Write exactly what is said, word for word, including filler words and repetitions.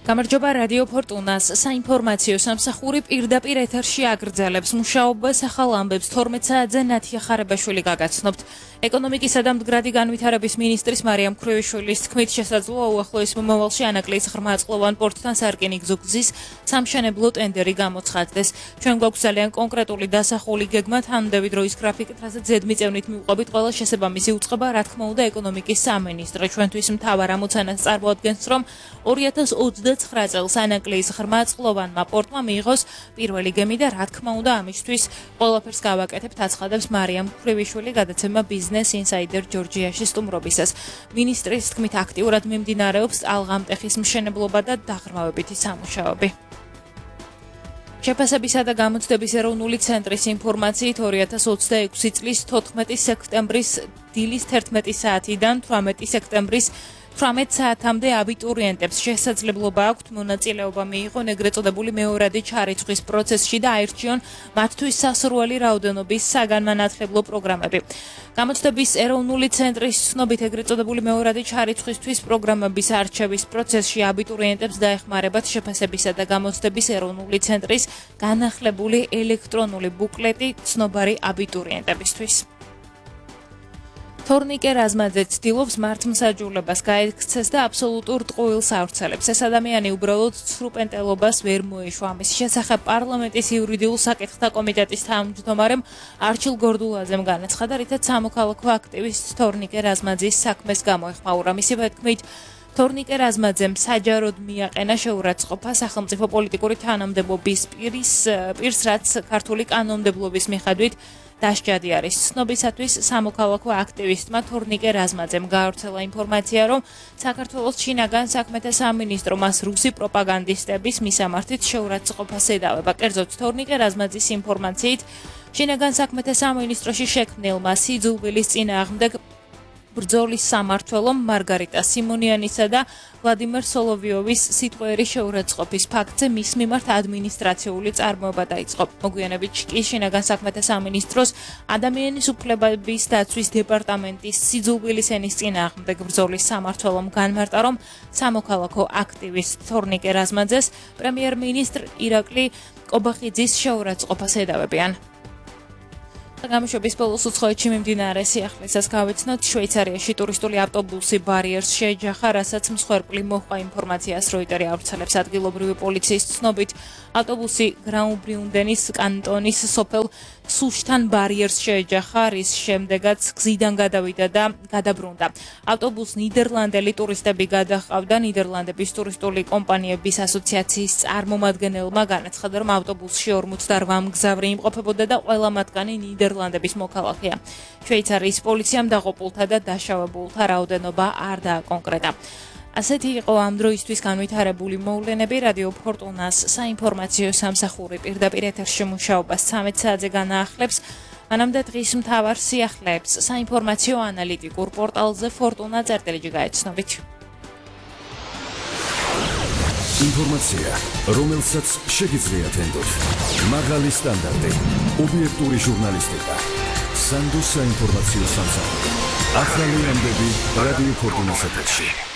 გამარჯობა რადიო ფორტუნას საინფორმაციო სამსახური პირდაპირ ეთერში აგრძელებს მუშაობას ახალ ამბებს თორმეტ საათზე ნათია ხარებაშვილი გაგაცნობთ. ეკონომიკისა და მდგრადი განვითარების მინისტრის მარიამ მქვრევიშვილის თქმით შესაძლოა უახლოეს მომავალში ანაკლიის ღრმაწყლოვან პორტთან სარკინიგზო გზის სამშენებლო ტენდერი გამოცხადდეს. ჩვენ გვაქვს ძალიან კონკრეტული დასახული გეგმა თანმდევი დროის გრაფიკით, რასაც ზედმიწევნით მივყვებით ყველა შესაბამისი უწყება, რა თქმა უნდა, ეკონომიკის სამინისტრო ჩვენთვის მთავარ ამოცანას წარმოადგენს, რომ ორი ათას ოცდაცხრა წელს ანაკლიის ღრმაწყლოვანმა პორტმა მიიღოს პირველი გემი და რა თქმა უნდა ამისთვის ყველაფერს გავაკეთებთ, აცხადებს მარიამ მქვრევიშვილი გადაცემა Business Insider ჯორჯიაში სტუმრობისას. მინისტრის თქმით აქტიურად მიმდინარეობს ალღამტეხის მშენებლობა და დაღრმავებითი სამუშაოები. შეფასებისა და გამოცდების ეროვნული ცენტრის ინფორმაციით ორი ათას ოცდაექვსი წლის თოთხმეტი სექტემბრის დილის თერთმეტი საათიდან თვრამეტი სექტემბრის თვრამეტ საათამდე აბიტურიენტებს შესაძლებლობა აქვთ მონაწილეობა მიიღონ ეგრეთ წოდებული მეორადი ჩარიცხვის პროცესში და აირჩიონ მათთვის სასურველი რაოდენობის საგანმანათლებლო პროგრამები. გამოცდების ეროვნული ცენტრის ცნობით ეგრეთ წოდებული მეორადი ჩარიცხვისთვის პროგრამების არჩევის პროცესში აბიტურიენტებს დაეხმარებათ შეფასებისა და გამოცდების ეროვნული ცენტრის განახლებული ელექტრონული ბუკლეტი ცნობარი აბიტურიენტებისთვის. თორნიკე რაზმაძე ცდილობს მართლმსაჯულებას გაექცეს და აბსოლუტურ ტყუილს ავრცელებს. ეს ადამიანი უბრალოდ სრუპენტელობას ვერ მოეშვა. ამის შესახებ პარლამენტის იურიდიულ საკითხთა კომიტეტის თავმჯდომარემ არჩილ გორდულაძემ განაცხადა, რითაც სამოქალაქო აქტივისტ თორნიკე რაზმაძის საქმეს გამოეხმაურა. მისივე თქმით, თორნიკე რაზმაძემ საჯაროდ მიაყენა შეურაცხყოფა სახელმწიფო პოლიტიკური თანამდებობის პირის პირს, რაც ქართული კანონმდებლობის მიხედვით დასჯადი არის. ცნობისათვის სამოქალაქო აქტივისტმა თორნიკე რაზმაძემ გაავრცელა ინფორმაცია, რომ საქართველოს შინაგან საქმეთა სამინისტრო მას რუსი პროპაგანდისტების მისამართით შეურაცხყოფას ედავება. კერძოდ თორნიკე რაზმაძის ინფორმაციით შინაგან საქმეთა სამინისტროში შექმნილმა სიძულვილის წინააღმდეგ ბრძოლის სამმართველომ მარგარიტა სიმონიანისა და ვლადიმერ სოლოვიოვის სიტყვიერი შეურაცხყოფის ფაქტზე მის მიმართ ადმინისტრაციული წარმოება დაიწყო. მოგვიანებით კი შინაგან საქმეთა სამინისტროს ადამიანის უფლებების დაცვის დეპარტამენტის სიძულვილის ენის წინააღმდეგ ბრძოლის სამმართველომ განმარტა, რომ სამოქალაქო აქტივისტ თორნიკე რაზმაძეს პრემიერ-მინისტრ ირაკლი კობახიძის შეურაცხყოფას ედავებიან. გამშვების ბოლოს უცხოეთში მიმდინარე სიახლესაც გავეცნოთ. შვეიცარიაში ტურისტული ავტობუსი ბარიერს შეეჯახა, რასაც მსხვერპლი მოჰყვა ინფორმაციას როიტერი ავრცელებს. ადგილობრივი პოლიციის ცნობით ავტობუსი გრაუბიუნდენის კანტონის სოფელ სუშთან ბარიერს შეეჯახა, რის შემდეგაც გზიდან გადავიდა და გადაბრუნდა. ავტობუსს ნიდერლანდელი ტურისტები გადაჰყავდა. ნიდერლანდების ტურისტული კომპანიების ასოციაციის წარმომადგენელმა განაცხადა, რომ ავტობუსში ორმოცდაოთხ მგზავრი იმყოფებოდა და ყველა მათგანი ნიდერლანდების მოქალაქეა. შვეიცარიის პოლიციამ დაღუპულთა და დაშავებულთა რაოდენობა არ დააკონკრეტა. ასეთი იყო ამ დროისთვის განვითარებული მოვლენები. რადიო ფორტუნას საინფორმაციო სამსახური პირდაპირ ეთერში მუშაობას ცამეტ საათზე განაახლებს. მანამდე დღის მთავარ სიახლეებს საინფორმაციო ანალიტიკურ პორტალზე ფორტუნა წერტილიჯი გაეცნობით. ინფორმაცია, რომელსაც შეგიძლიათ ენდოთ. მაღალი სტანდარტი, ობიექტური ჟურნალისტიკა. სანდოს საინფორმაციო სამსახური. ახალი ამბები რადიო ფორტუნას ეთერში.